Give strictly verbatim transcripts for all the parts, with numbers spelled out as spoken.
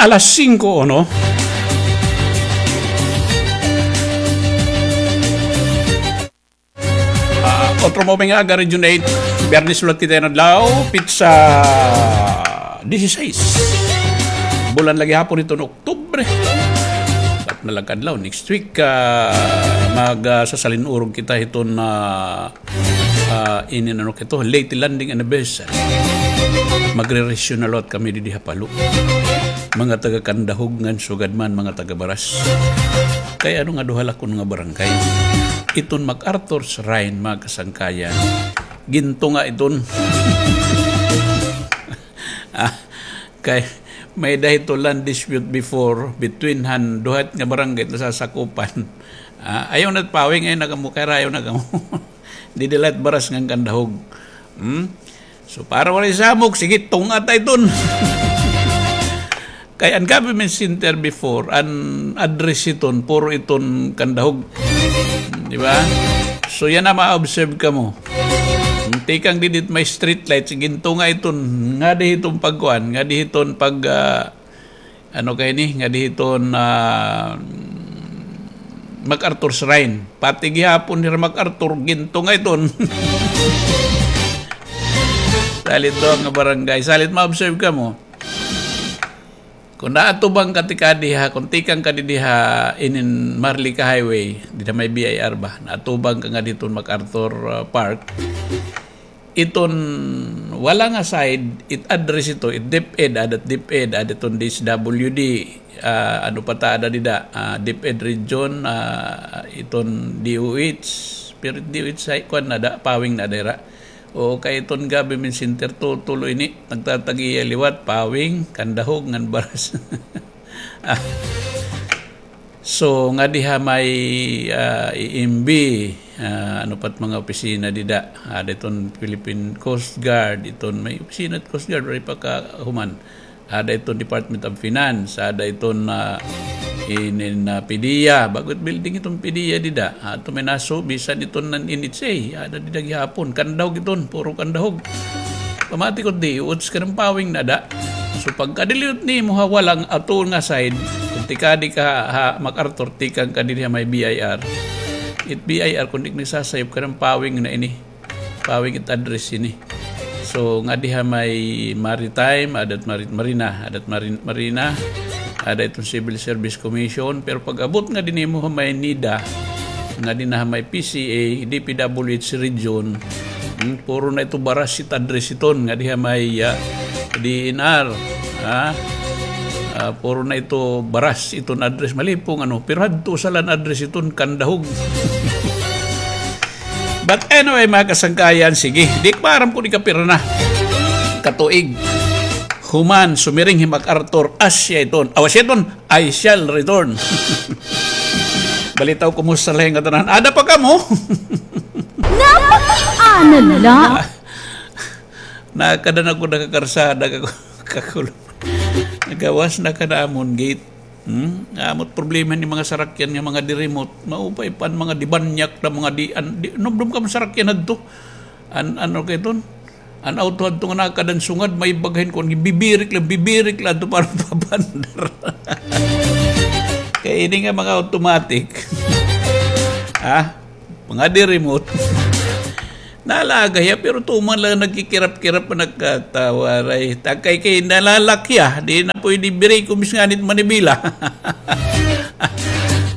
Alas singko uno. Ah, otro maupay nga aga, Region eight. Biyernes liwat kita yana adlaw, petsa dieciséis. Bulan la gihapon iton Oktubre. Apat na la ka adlaw. Next week, ah, mag, ah, sasalin-urog kita hiton, ah, ah, inin ano kito, late landing anniversary. Magre-reisyu na liwat kami didi ha Palo. Mga taga Candahug ngan sugad man mga taga Baras. Kay ano nga duha la kuno nga barangay. Iton MacArthur Shrine, mga kasangkayan. Gintunga iton. Ah, kay may-ada hito land dispute before between han duha nga barangay nasasakupan. Ah, ayaw na pawing, ayaw na kamo, kay rayo na kamo. Didi la it Baras ngan Candahug. Hmm? So, para waray samok, sige, tunga ta iton. Kay an government center before, an address iton, puro iton Candahug. Di ba? So, yana ma-observe kamo. Tikang didi it may street lights, gintunga iton, ngadi hiton pagkuan, ngadi hiton pag, ah, ano kay ni, ngadi hiton, ah, MacArthur Shrine. Pati gihapon nira MacArthur, gintunga iton. Salit duha nga barangay. Salit ma-observe kamo. Kon naatubang ka tikadi ha, kon tikang ka didi ha inin Maharlika Highway, didi ha may B I R ba? Naatubang ka ngadi hiton MacArthur, ah, Park. Iton wala nga side, it address ito, it DepEd, ada it DepEd, ada iton D S W D, ah, ano pa ta ada dida, ah, DepEd region, ah, iton D O H, pero it D O H ay kuan na da, pawing na dira. O kay iton government center, tutulo ini, nagtatag-iya liwat, pawing, Candahug, ngan Baras. Ah. So, ngadi ha may, ah, E M B, ah, ano pa it mga opisina dida? Ada iton Philippine Coast Guard, iton may opisina it Coast Guard, waray pa kahuman. Ada iton Department of Finance, ada iton, ah, inin, ah, PDEA, bag-o it building iton PDEA dida. Ato may naso, bisan iton nan N H A, ada dida gihapon. Candahug iton, puro Candahug. Pamati ko di, uts ka ng pawing na da. So, pagkadiliyot nimo ha walang ato nga side, kung tikadi ka ha, ha MacArthur, tikang ka diri ha may B I R. It B I R, kung di nagsasayop ka ng pawing na ini. Pawing it address ini. So, ngadi ha may maritime, ada it mari-, marina, ada it mari-, marina, ada iton Civil Service Commission, pero pag-abot ngadi nimo ha may NEDA, ngadi na ha may P C A, D P W H region, hmm, puro na ito Baras it address iton, ngadi ha may, ah, D E N R, ha? Ah, puro na ito Baras iton address, malipong ano, pero hadto usa la an address iton, Candahug. But anyway, mga kasangkayan, sige. Di ko maaram kon ikapira na katuig. Human, sumiring hi MacArthur, asya iton. Aw, asya iton, I shall return. Balitaw, kumusta la nga tanan? Ada pa kamo? Napa-, ano la? Nakada na ko nakakarsada, kako-, kakulo. Nagawas na ka na amon gate. Hmm? Amo it problema ni mga sarakyan nga mga di-remote. Maupay pa an mga di-banyak na mga di-, an-, di-, numdom ka man sarakyan hadto. An-, ano kay iton? An auto hadto nga nakada han sungad, may bagahin kon bibirik la, bibirik la hadto para mapapandar. Kay ini nga mga automatic. Ha? Mga di-remote. Nalaga hiya, pero tuman la nagkikirap-kirap, nakatawa ray. Takay kay nalalak hiya, di na pwede biriko, bis nganit manibila.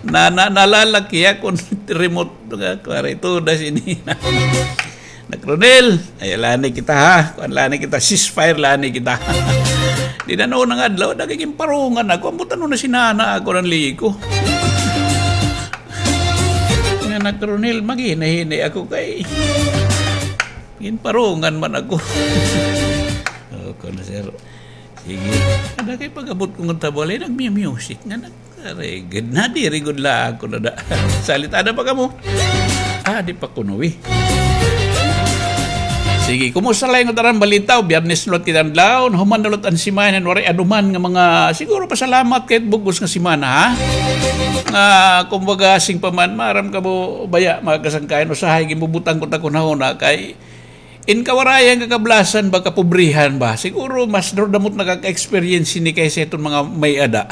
Na, na, nalalak hiya kon remote nga, kuwari, tuda sini. Nak Ronel, ay, lani kita, ha? Kuan, lani kita, ceasefire, lani kita. Di na noon nga adlaw, nagiging parungan ako. Ambot ano na sinana ako ng liko. Nga, Nak Ronel, maghinahinay ako kay ginparungan man ako. Oo, kuno, sir. Sige. Ada kay pag-abot ko nga tabalay, nagmi-music nga nag-, aray, gud na, diri gud la ako nada. Salit, ada pa kamo? Ah, di pa kuno, eh. Sige, kumusta la nga tanan balita? Biyernes na liwat kita adlaw, nahuman na liwat an simana, waray aduman nga mga, siguro pasalamat kay bug-os nga simana, ha? Nga, kumbaga, asing pa man, maaram kamo baya, mga kasangkayan, usahay, ginbubutang ko ta kunhuna kay In kawarayan, kakablasan ba, kapobrehan ba? Siguro mas durdamot nakaka-experience hini kaysa iton mga may-ada.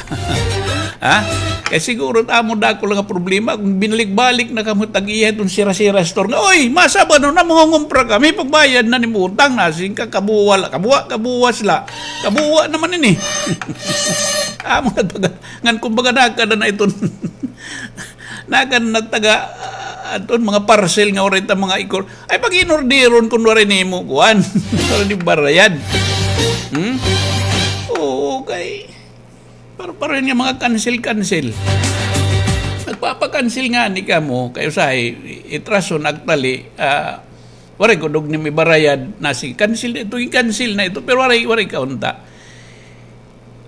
Ha? Kay siguro it amo dako la nga problema, kon binalik-balik na kamo tag-iya iton Sira-Sira Store nga, "Oy, masa ba no, namangungumpra kami, pagbayad na nim utang," nasiring ka, kabuwa la, kabuwa, kabuwas la. Kabuwa naman ini. Amo na taga, ngan kumbaga nakada na iton, nakada na taga, ah, aton mga parcel nga waray ta mga ikor. Ay, pag-inorderon kun waray nimo kuan. Waray nimo barayad. Hmm? Oo, kay par-, pareho nga mga cancel-cancel. Nagpapa-cancel ngani kamo, kay usahay, it rason, actually, ah, waray gud nimo ibarayad, nasiring, cancel na ito, i-cancel na ito, pero waray, waray kaunta.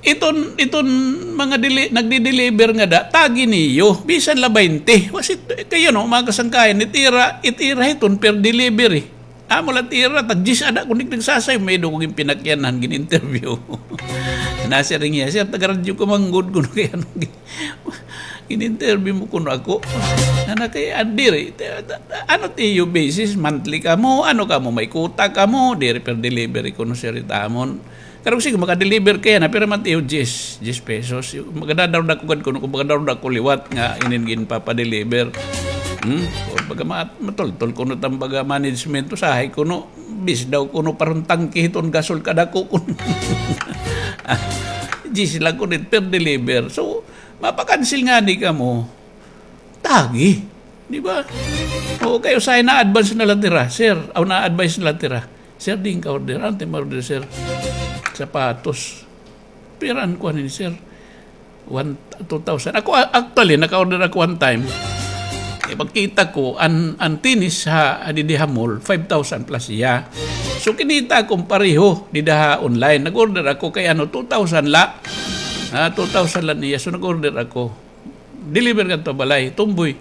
Iton, iton mga deli-, nagdi-deliver ngada, tagi niyo, bisan la baynte. Kasi, kay, you know, mga kasangkayan, it ira, it ira hiton per delivery. Amo la it ira, tag-diyes ada, kun di nagsasayaw, may-ada ko ginpinakyanan, gin-interview. Nasiring hiya, "Sir, taga-radyo ka man gud," kuno, kay ano, gin-, gin-interview mo kuno ako. Nana kay, ah, diri, ta-, ta-, ta-, ano it iyo basis, monthly kamo, ano kamo, may quota kamo, diri per delivery kuno, sir, it amon. Karuyag sige, maka-deliver ka yana, pira man it iyo, diyes, diyes pesos. Magadadaro-dako gad kuno, kun magadadaro-dako liwat nga inin ginpapa-deliver. Hmm? O, baga ma-, matultol kuno it am baga management, usahay kuno, bis daw kuno paron tangke hiton gasol kadako kuno. Diyes la kuno it per deliver. So, mapa-cancel ngani kamo. Tagi. Di ba? O, kay usahay na-advance na la it ira, sir. Aw, na-advance na la it ira. "Sir, diin ka order?" "Ano it im order, sir?" "Sapatos." "Pira an kuan hini, sir?" "One, two thousand." Ako, a-, actually, naka-order ako one time. Eh, pagkita ko, an, an tenis ha, ha didi ha mall, five thousand plus hiya. So, kinita ko pareho dida ha online. Nag-order ako kay ano, two thousand la. Ah, two thousand la niya. So, nag-order ako. Deliver ngadto ha balay, tumboy.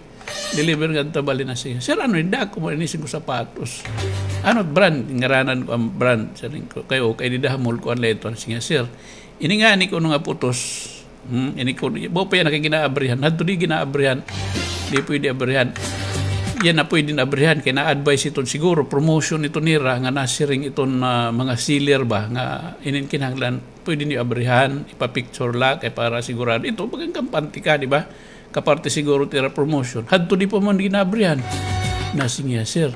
Deliver ngadto ha balay, nasiring, "Sir, ano ini, dako man ini, siring ko, sapatos. Ano brand?" Ngaranan ko an brand. Siring ko, "Kay, o, kay dida ha mall kuan la ito." Nasiring, "Sir, ini ngani kuno nga putos. Hmm, ini kuno, mao pa yana kay gin-aabrihan. Hadto di gin-aabrihan. Di pwede abrihan. Yana pwede abrihan kay na-advise iton siguro, promotion ito nira nga nasiring iton, ah, mga seller ba nga inin kinahanglan pwede niyo abrihan, ipa-picture la, kay para sigurado. Ito, baga kampante ka, di ba? Kaparte siguro it ira promotion. Hadto di pa man gin-aabrihan." Nasiring hiya, "Sir,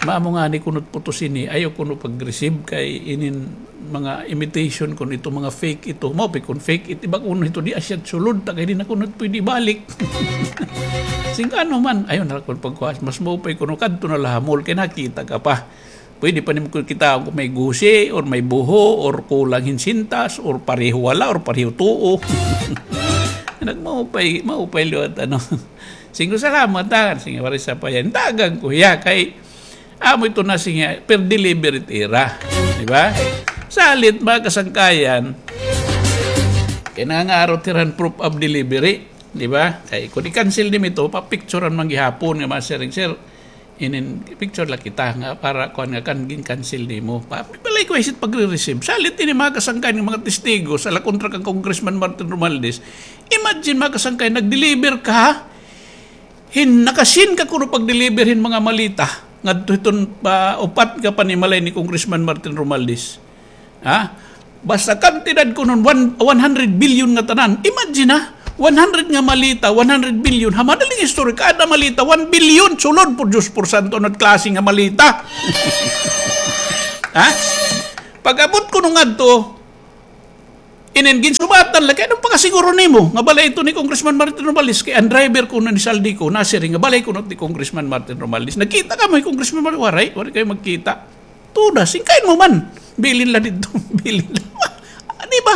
maamo ngani kuno it putos ini, ayaw kuno pag-receive kay inin mga imitation kuno ito, mga fake ito. Maupay kon fake it iba kuno ito, di asya it sulod, ta kay di na kuno pwede ibalik." Siring ko, "Ano man, ayaw na la kuno pagkuha. Mas maupay kuno kadto na la ha mall kay nakita ka pa." Pwede pa nimo kitaon kon may gusi, or may buho, or kulang hin sintas, or pareho wala, or pareho tuo. Nagmaupay, maupay liwat, ano. Siring ko, "Salamat, ha." Siring, waray sapayan. Dagan ko hiya, kay amo ito na, siring, per delivery it ira. Di ba? Salit, mga kasangkayan, kay nangangaro it ira hin proof of delivery. Di ba? Kay kon i-cancel nimo ito, papicturan man gihapon nga masiring, "Sir, inin picture la kita nga para kuan nga kan gin-cancel nimo." Pa-, balay ko isit pagre-receive. Salit ini, mga kasangkayan, nga mga testigo sa la kontra kan Congressman Martin Romualdez. Imagine, mga kasangkayan, nag-deliver ka, ha? Hin, nakasin ka kuno pag-deliver hin mga maleta ngadto hiton, ah, upat nga panimalay ni Congressman Martin Romualdez. Ha? Basta kantidad kuno one, one hundred billion nga tanan. Imagine, ha? One hundred nga maleta, one hundred billion. Ha madaling istorya, kada maleta, one billion. Sulod, por Diyos, por santo, ano it klase nga maleta? Ha? Pag-abot kuno ngadto, inin ginsubatan la, kay ano pakasiguro nimo nga balay ito ni Congressman Martin Romualdez, kay an driver kuno ni Zaldy ko, nasiring nga balay kuno ni Congressman Martin Romualdez. Nagkita kamo ni Congressman Martin? Waray, waray kay magkita. Tuda, singkain mo man. Bilin la didto. Bilin la. Ah, di ba?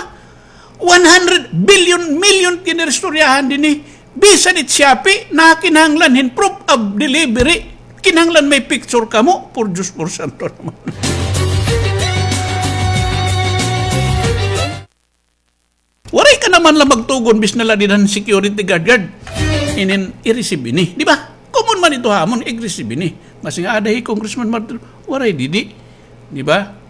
One hundred billion, million kiniristoryahan dinhi. Bisan it Shopee, nakinahanglan hin proof of delivery. Kinahanglan may picture kamo. Por Diyos, por santo naman. Waray ka naman la magtugon, bis na la dida han security guard, guard. Inin i-receive ini, di ba? Common man ito ha amon, i-receive ini. Masiring nga, "Ada hi Congressman Martin." Waray didi. Di ba?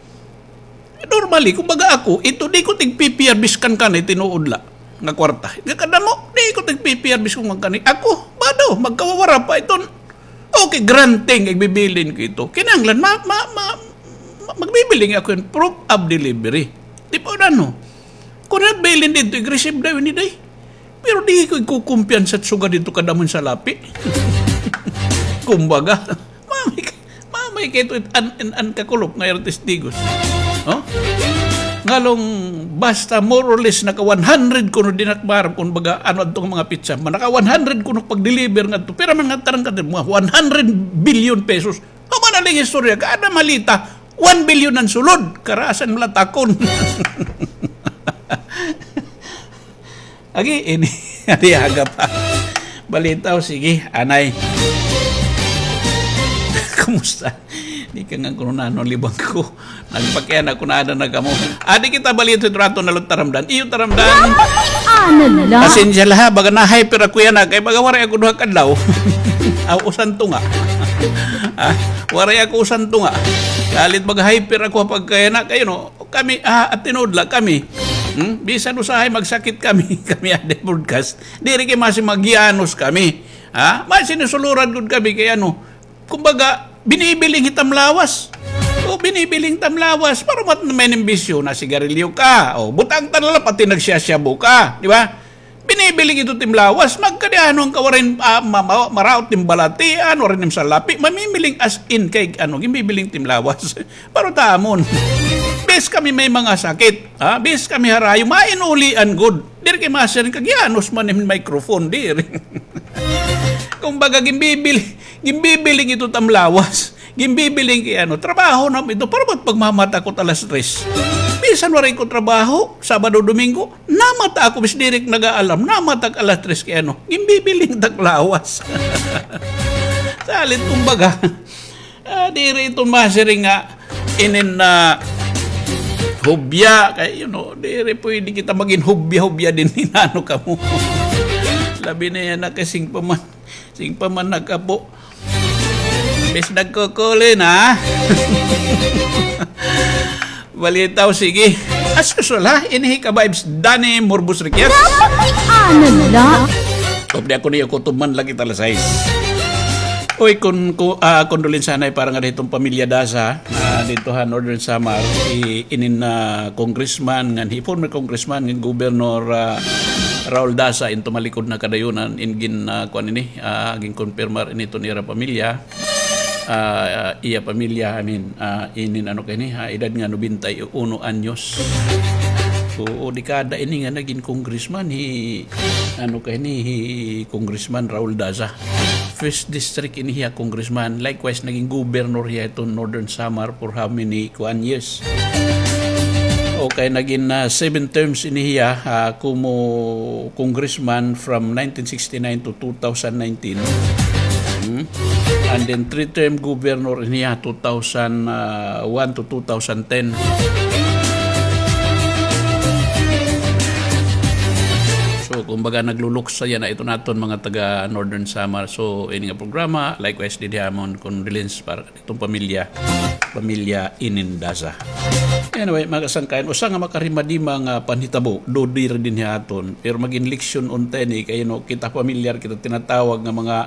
Normally, kumbaga ako, ito, di ko tig-P P R bis kan kanay tinuod la nga kwarta. Kadamo, di ko tig-P P R bis kan kanay. Ako, bado, magkawawara pa iton. Okay, granting, igbibilin ko ito. Kinahanglan, ma-, ma-, ma-, Ma-, magbibiling ako hin proof of delivery. Di ba, ano? Kun nagbilin didto, ig-receive daw ini, day. Pero di ko ikukumpiyansa it sugad didto kadamo hin salapi. Kumbaga, mamay ka-, mamay kay ito it an-, an-, an kakulop nga ira testigos. Oh? Ngalong basta more or less naka one hundred kuno dinakbar, kumbaga, ano, adto nga mga pitsa, naka one hundred kuno pag-deliver ngadto. Pira man nga tarang ka, mga one hundred billion pesos. Human na la hin istorya, kada maleta, one billion an sulod. Karasan malatakon. Agi, ini, adi aga pa. Balitaw, sige, anay. Kumusta? Di ka nga kuno nano libang ko. Nagpakiana ko na ada na kamo. Adi kita balita sa trato na lo taramdan. Iyo taramdan. Ano la? Pasensya la ha, baga na-hyper ako yana, kay baga waray ako duha ka adlaw. Aw, usan tunga. Ah, waray ako usan tunga. Kalit baga hyper ako pag kaya na, kayo no, kami, ah, at tinuod la kami. Hmm? Bisan usahay magsakit kami, kami ada broadcast. Diri kay masi magyanos kami. Ha? Masi nisuluran gud kami kay ano, kumbaga, binibiling hitam lawas. O, binibiling tam lawas. Para mat may nimbisyo na sigarilyo ka. O, butang ta na la, pati nagsiyasyabu ka. Di ba? Binibiling ito tim lawas. Magkadianon ka, warin, ah, ma-, ma-, maraot tim balatian, warin tim salapi. Mamimiling as in kay, ano, gimbibiling tim lawas. Pero tamon. Bis kami may mga sakit. Ha? Bis kami harayo. Mainulian gud. Diri kay masiring kag yanos man im microphone. Diri. Kumbaga, gimbibil-, gimbibiling ito tam lawas. Gimbibiling kay ano, trabaho na ito. Para ba't pagmamata ko alas tres? Bisan waray ko trabaho, Sabado, Domingo, namata ako, bis diri ko nag-aalam, namata ak alas tres kay ano, gimbibiling tak lawas. Salit, kumbaga, ah, diri ito masiring nga, inin na hubya, kay, you know, diri pwede kita magin hubya-hubya din, hinano kamo. Labi na yana, kasing pa man. Sing pa man nag-apo. Bis nagkukuli na. Balitaw, sige. As usual, ha? Ini hi ka-vibes, Danny Morbos Riquez. Ano la? Hope di ako niyo kutuman lagi talasay. Uy, kun, ku-, ah, condolence anay para nga dito pamilya Daza, ah, dito ha Northern Samar, i-, inin na congressman, ngan hi former congressman, ngan Governor, ah, Raul Daza, in tumalikod na kadayunan, in gin, ah, kuan ini, ah, ginkonpirmar ini ton ira pamilya. Ah, iya pamilya, I mean, ah, inin ano kay ini, ha, edad nga nobenta y uno anyos. Oo, dekada ini nga nagin congressman, hi, ano kay ini, hi Congressman Raul Daza. First district ini hiya congressman. Likewise, nagin governor hiya iton Northern Samar for how many, kuan, years. Okay, nagin, ah, seven terms ini hiya, ah, kumo congressman from nineteen sixty-nine to two thousand nineteen. Hmm? And then three-term governor ini hiya, two thousand one to two thousand ten. So, kumbaga, nagluluksa yana iton aton mga taga Northern Samar. So, ini nga programa, likewise, didi amon condolence para itong pamilya, pamilya Inin Daza. Anyway, mga kasangkayan, usa nga makarimadima nga panhitabo, dodi ra dinhi ha aton, pero magin leksyon unta ini kay, you know, kita pamilyar kita tinatawag nga mga,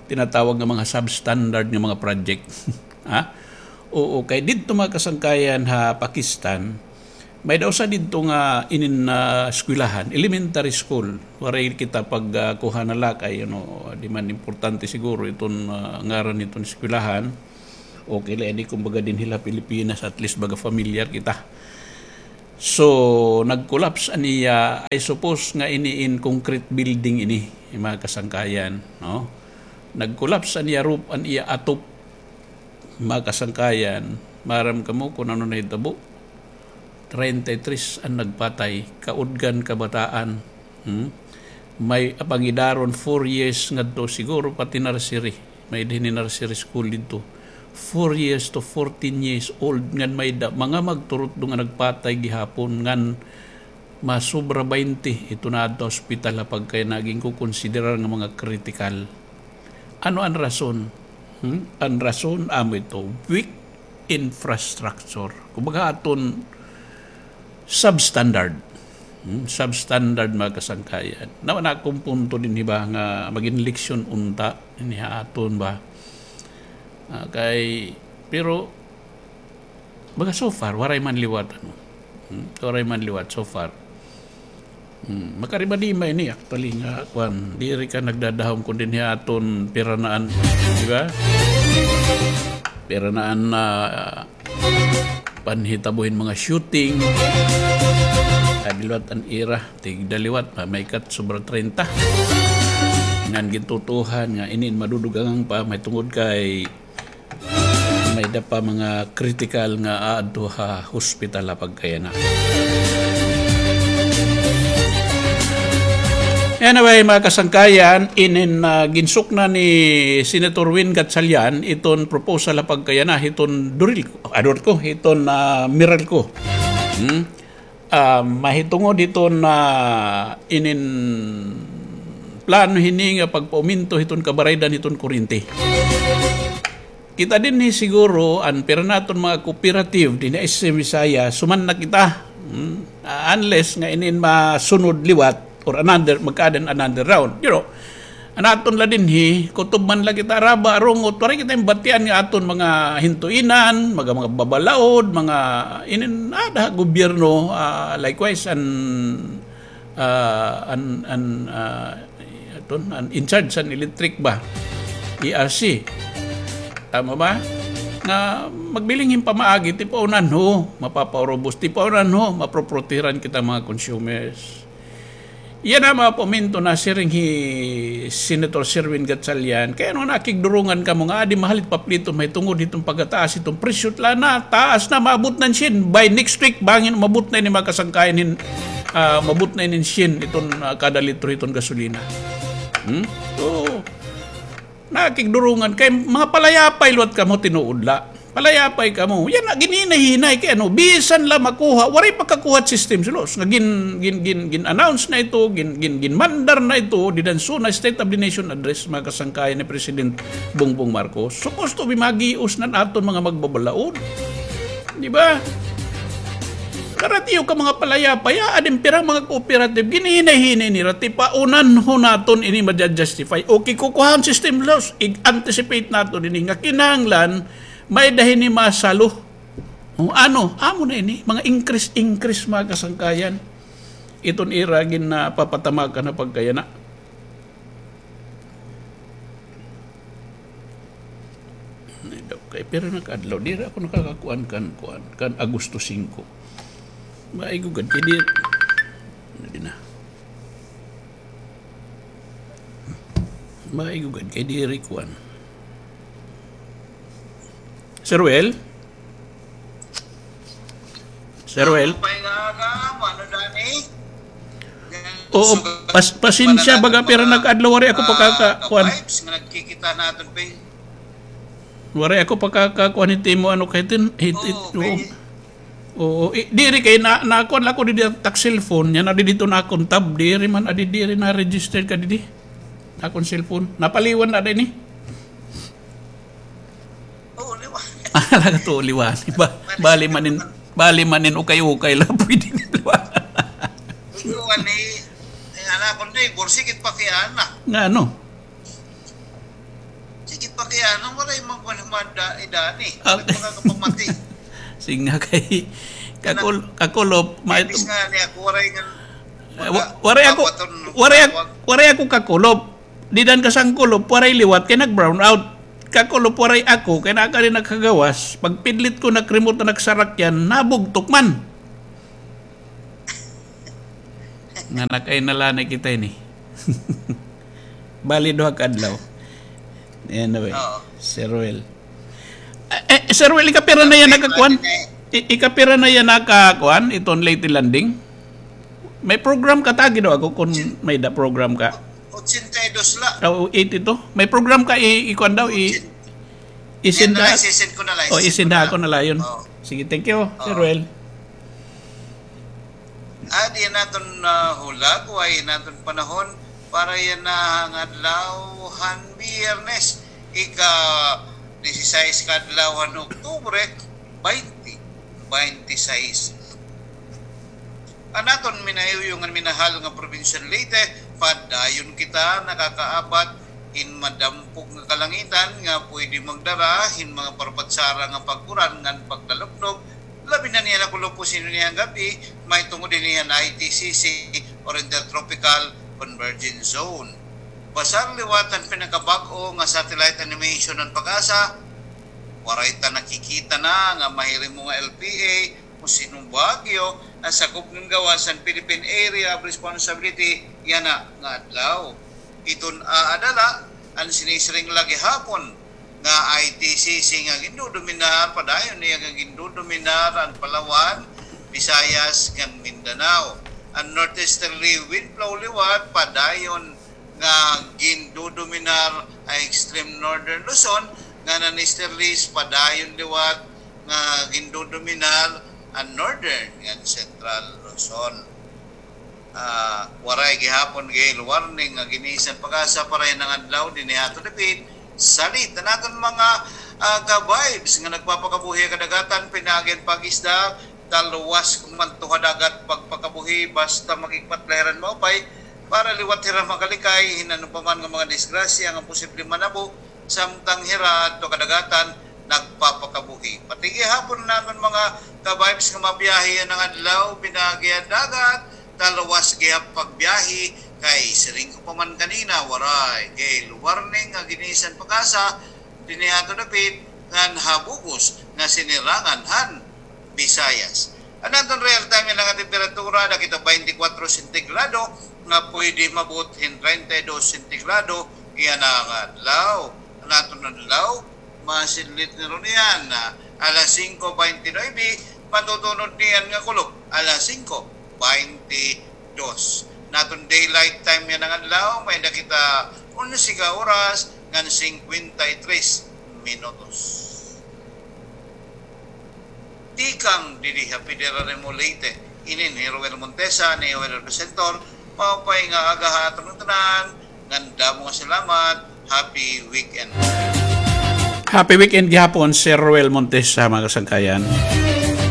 tinatawag nga mga substandard nga mga project. Ha? Oo, kay didto, mga kasangkayan, ha Pakistan, may-ada usa didto nga inin, ah, eskwelahan, elementary school. Waray kita pag, ah, kuha na la kay, you know, di man importante siguro iton, ah, ngaran niton eskwelahan. Okay la ini, kumbaga, dinhi la Pilipinas, at least baga familiar kita. So, nag-collapse an iya, I suppose nga ini in concrete building ini, mga kasangkayan, no? Nag-collapse an iya roof, an iya atop, mga kasangkayan, maaram kamo kun ano nahitabo? Treinta y tres an nagpatay, kaudgan, kabataan. Hmm? May pangidaron, four years ngadto, siguro pati nursery. May dinhi nursery school didto. Four years to fourteen years old, ngan may-ada mga magturutdo nga nagpatay gihapon, ngan masobra baynte ito naadto ha ospital ha pagkay nagin kukonsiderar nga mga kritikal. Ano an rason? Hmm? An rason, amo ito, weak infrastructure. Kumbaga, aton substandard. Hmm? Substandard, mga kasangkayan. Nawa na akon punto dinhi ba nga magin leksyon unta, ini ha aton ba? Ah, kay, pero, Baga so far, waray man liwat, ano. Hmm? Waray man liwat so far. Hmm, makarimadi man ini, actually, nga, kuan, diri ka nagdadahom kun dinhi aton piranaan, di ba? Piranaan na, ah, panhitabo hin mga shooting. Adi liwat an ira, tigda liwat, ma-, may kat sobra treinta. Ngan gintutuhan nga inin madudugangan pa, mahitungod kay may-ada pa mga critical nga aadto ha hospital ha pagkayana. Anyway, mga kasangkayan, inin, ah, ginsukna ni Senator Win Gatchalian iton proposal ha pagkayana hiton DOLE ko, ah, DOLE ko, hiton, ah, MERALCO. Hmm? Ah, mahitungod hiton inin plano hini nga pagpauminto hiton kabaraydan hiton kuryente. Kita dinhi siguro an pira naton mga cooperative dinhi ha Visayas, suman na kita. Hmm? Ah, unless nga inin masunod liwat or another, magkaada hin another round. You know, an aton la dinhi, kutob man la kita Araba, Arungot, waray kita ginbatian nga aton mga hintuinan, mga, mga babalaod, mga inin, ah, da, gobyerno, ah, likewise, an, ah, an, an, ah, aton, an in charge an electric ba? E R C. Tama ba? Nga magbiling hin pamaagi, tipaunan ho, mapapaurubos, tipaunan ho, maproprotehiran kita mga consumers. Yana mga paaminto nasiring hi Senator Sherwin Gatchalian, kay ano nakigdurungan kamo nga adi mahalit papliton mahitungod hiton pagkataas hiton presyo, tla na, taas na, maabot na hin syen. By next week, bangin umabot na ini mga kasangkayan hin, ah, umabot na ini hin syen iton, ah, kada litro hiton gasolina. Hmm? So, nakigdurungan kay mga palayapay liwat kamo, tinuod la. Palayapay kamo. Yana, ginhinay-hinay kay ano, bisan la makuha, waray pagkakuha system, silos. Nga gin, gin, gin, gin-announce na ito, gin, gin, ginmandar na ito, dida han SONA State of the Nation Address, mga kasangkayan ni President Bongbong Marcos. Supposed to be magios na an aton mga magbabalaod. Di ba? Karatiyo ka mga palayapay, ah, adi pira mga cooperative, ginhinay-hinay nira, tipaunan ho naton ini maja-justify. Okay, kukuha an system loss, i-anticipate naton ini nga kinahanglan, may-ada hini masalo. O ano, amo na ini, mga increase, increase, mga kasangkayan. Iton ira ginapapatamakan ha pagkayana. Ay, daw, kay pira na ka adlaw. Diri ako nakakakuan kan, kuan, kan Agosto singko. Maigugad kay diri. Ano din na? Maigugad kay diri kuan. Sir Well? Sir Well? Ano pa yung aga mo? Ano, Danny? Oo, pas-, pasensya, baga pira na ka adlaw, waray ako pakaka-, kuan. Ka-vibes nga nagkikita naton, pe. Waray ako pakaka-, kuan, hit imo, ano, kahit in-, hit, hit, oo, oo. Oo, i-, diri kay na, nakuan la ko didi tak cellphone, yana didi to na akon tab, diri man, adi diri na registered ka didi. Akon cellphone, napaliwan na dinhi. Oo, liwan. Ala ka to, liwan. Ba-, bali man in, bali man in ukay-ukay la, pwede ni liwan. Ikaw, ani, eh, anak ko, neighbor, sige, pakiana. Nga ano? Sige, pakiana, waray man kuan humada, idani. Ah. Waray makakapamati. Sige nga kay, kakul-, kakulop, ma-, imbis nga ni ako, waray nga, eh, wa-, waray ako, waray ak-, waray ako kakulop. Dida han kasangkulop, waray liwat kay nag-brown out. Kakulop, waray ako kay naa ka didi nakagawas. Pagpidlit ko, nag-remote na nagsarakyan, nabugtok man. Nga nakainalanay kita ini. Bali, duha ka adlaw. Anyway, oo. Sir Will. Eh, eh, Sir Will, ikapira na yana ka kuan? I-, ikapira na yana ka kuan? Iton Leyte Landing? May program ka, tagi daw ako kun may-ada program ka. Ochenta y dos la. Ah, o, eighty-two. May program ka, i-, ikuan daw, i-, isinda. Yan na lang, sisend ko na lang, oh, sisend ko na lang. Isinda ako na layon. Oh. Sige, thank you, Sir Will. Adi an aton, ah, hulag, way an aton panahon para yana nga adlaw han Biyernes, ika-disisais ka adlaw han Oktubre, baynte baynte sais. An aton minahuyong ngan minahal nga probinsya han Leyte, padayon kita nakakaabat hin madampog nga kalangitan nga pwede magdara hin mga parbatsara nga pag-uran ngan pagdalubnob Labi na niyan nakulop hin sino niyan gab-i, mahitungod hini han I T C C or Intertropical Convergence Zone. Basar liwat an pinakabag-o nga satellite animation han PAGASA, waray ta nakikita na nga mahirimo nga L P A o sino bagyo an sakop ngan gawas han Philippine Area of Responsibility yana nga adlaw. Iton aada la an sinisiring la gihapon nga I T C C nga gindodominar, padayon niya nga gindodominar an Palawan, Visayas, ngan Mindanao. An northeasterly wind flow liwat, padayon nga gindodominar an extreme northern Luzon, ngan an easterlies, padayon liwat nga gindodominar an northern ngan central Luzon. Ah, waray gihapon gale warning nga ginisan PAGASA para yana nga adlaw dinhi ha aton dapit. Salit an aton mga, ah, ka-vibes nga nagpapakabuhi ha kadagatan, pinaagi han pag-isda, talwas kon madto ha dagat pagpakabuhi, basta mag-igpat la hira hin maupay para liwat hira makalikay hin ano pa man nga mga disgrasya nga posible manabo samtang hira adto ha kadagatan nagpapakabuhi. Pati gihapon an aton mga ka-vibes nga mabiyahe yana nga adlaw pinaagi ha dagat, talwas gihap pagbiyahe kay siring ko pa man kanina, waray gale warning nga ginisan PAGASA dinhi ha aton dapit ngan ha bug-os nga sinirangan han Visayas. An aton real time yana nga temperatura, nakita, twenty-four sentigrado, nga pwede maabot hin treinta y dos sentigrado yana nga adlaw. An aton adlaw, masidlit na runo niyan, ah, alas singko baynte nuwebe, matutunod niyan nga kulop, alas singko baynte dos. An aton daylight time yana nga adlaw, may-ada kita onse ka oras ngan singkwenta y tres minutos. Tikang didi ha Federal Remo Leyte, inin hi Roel Montesa, an iyo nga presenter. Maupay nga aga ha aton tanan, ngan damo nga salamat. Happy weekend. Happy weekend gihapon, Sir Roel Montesa, mga kasangkayan.